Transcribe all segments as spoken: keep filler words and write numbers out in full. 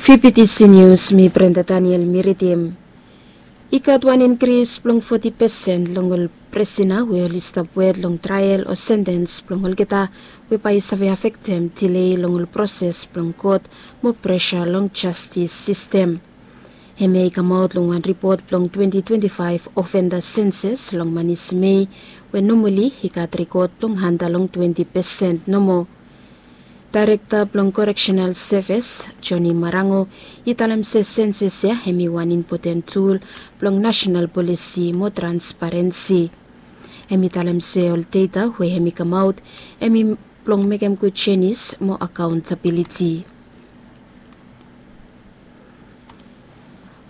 Fifty C News, mi Brenda Daniel mi ridim. I gat wan inkris blong foti pesen long ol prisina we oli stap wet long trael o sentens blong olgeta, we bae i save afektem dilei long ol proses blong kot mo presa long jastis sistem. Hemia i kamaot long wan ripot blong twenty twenty-five ofenda senses long manis Mei, we nomali i gat rikot blong handa long twenty pesen nomo. Daerekta blong Koreksenal Sevis, Joni Marango, i talem se senses ya hemi wan impoten tul blong nasenal polisi mo transparensi. Hemi talem se ol deta we hemi kamaot hemi blong mekem gud jenis mo akaontabiliti.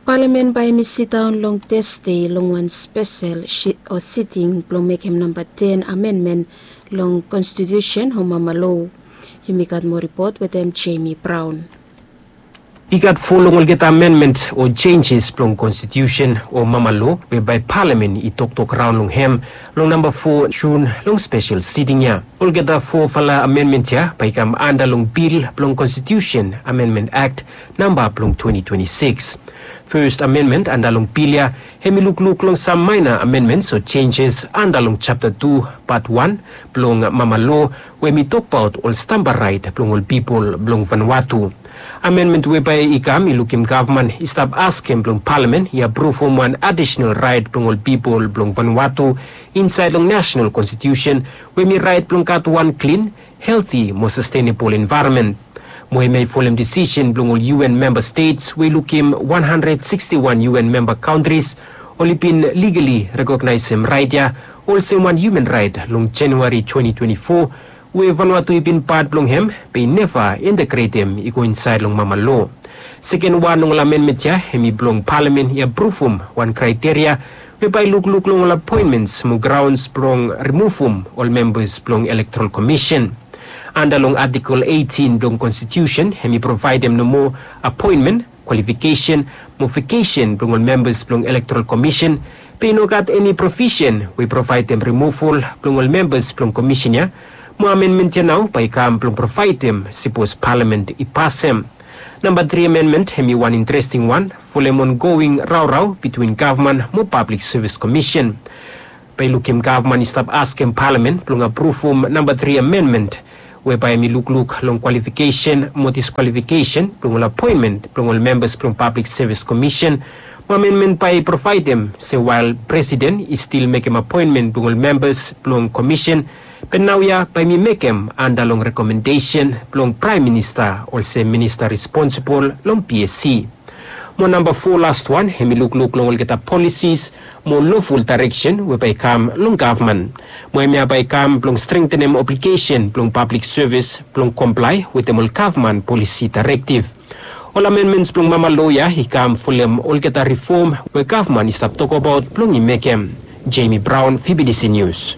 Palamen bae hemi sidaon long Tasde long wan spesel si- o siting blong mekem namba ten amenmen long konstitusen o mama lo. Yumi gat moa ripot wetem Jemi Braon. I gat fo long olgeta amenmen o jenjes blong konstitusen o mama lo we bae palamen i toktok raon long hem long namba fo Jun long spesel siting ya. Olgeta fofala amenmen ya bae i kam anda long bil blong Konstitusen Amenmen Akt namba blong twenty twenty-six. Fes amenmen anda long bil ya hemi lukluk long sam maena amenmen o jenjes anda long japta tu pat wan blong mama lo, we hemi tokbaot ol stamba raet blong ol pipol blong Vanuatu. Amenmen we bae i kam i lukim gavman i stap askem blong palamen i apruvum wan adisenal raet blong ol pipol blong Vanuatu insaed long nasenal konstitusen, we hemi raet blong gat wan klin, helti mo sastenebol envaeronmen. Mo hemia i folem disisen blong ol U N memba stets we i lukim wan handred siksti wan U N memba kantris oli bin ligali rekognaesem raet ya olsem wan hiuman raet long Januari twenty twenty-four, we Vanuatu i bin pat blong hem be i neva integretem i go insaed long mama lo. Seken wan long ol amenmen ya hemi blong palamen i apruvum wan kraeteria we bae i lukluk long ol apoenmens mo graons blong rimuvum ol membas blong Elektoral Komisen. Anda long Atikel eitin blong Konstitusen hemi provaedem nomo apoenmen, kwalifikesen mo vakesen blong ol membas blong Elektoral Komisen, be i no gat eni provisen we i provaedem rimuval blong ol membas blong komisen ya. Mo amenmen ya nao bae i kam blong provaedem sipos palamen i pasem. Namba tri amenmen hemi wan interesting wan folem ongoing raorao bitwin gavman mo Pablik Sevis Komisen. Bae i lukim gavman i stap askem palamen blong apruvum namba tri amenmen, we bae hemi lukluk long kwalifikesen mo diskwalifikesen blong ol apoenmen blong ol membas blong Pablik Sevis Komisen. Mo amenmen bae i provaedem se wael presiden i stil mekem apoenmen blong ol membas blong komisen, be naoia bae hemi mekem anda long rekomendesen blong Praem Minista olsem minista responsibol long P S C. Mo namba fo laswan hemi lukluk long olgeta polisis mo loful daereksen we bae i kam long gavman. Mo hemia bae i kam blong strengtenem obligesen blong pablik sevis blong komplae wetem ol gavman polisi daerektiv. Ol amenmens blong mama lo ya i kam folem olgeta rifom we gavman i stap tokbaot blong i mekem. Jemi Braon, V B T C Nius.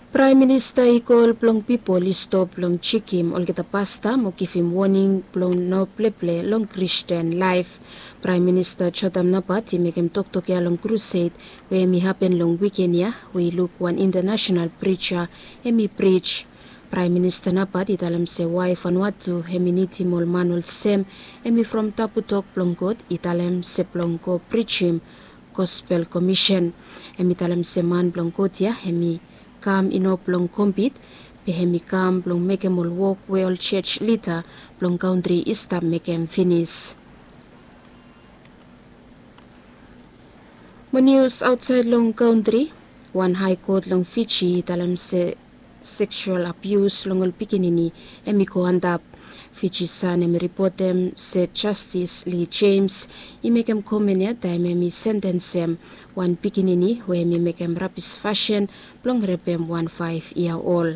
Praem Minista i kol blong pipol i stop blong jekem olgeta pasta mo givim woning blong no pleple long Kristin laef. Praem Minista Jotam Napat i mekem toktok ya long krused we hemi hapen long wiken ya, we i luk wan intanasenal prija hemi prij. Praem Minista Napat i talem se wae Vanuatu hemi nidim ol man olsem hemi from tabu tok blong God i talem se blong go prijim gospel komisen. Hemi talem se man blong God ya hemi kam i no blong kompit, be hemi kam blong mekem ol wok we ol jos lida blong kantri i stap mekem finis. Mo nius aotsaed long kantri, wan hae kot long Fiji i talem se seksual abius long ol pikinini hemi go antap. Fiji San hemi ripotem se Jastis Lee James i mekem komen ya taem hemi sentensem wan pikinini we hemi mekem rabis fasin blong repem wan faef yia ol.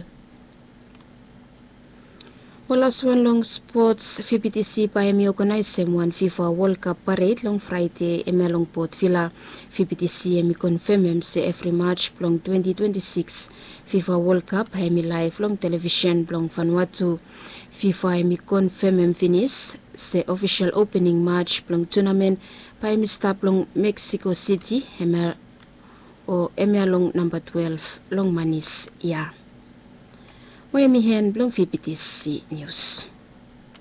Mo laswan long spots, V B T C bae hemi oganaesem wan FIFA World Cup pared long Fraede hemia long Port Vila. V B T C hemi konfemem se evri maj blong twenti twenti sikis FIFA World Cup hemi laef long televisen blong Vanuatu. FIFA hemi konfemem finis se ofisol opening maj blong tunamen bae hemi stap long Mexico City, hemia o hemia long namba twelef long manis ya. Mo em i en blong vbtc nius.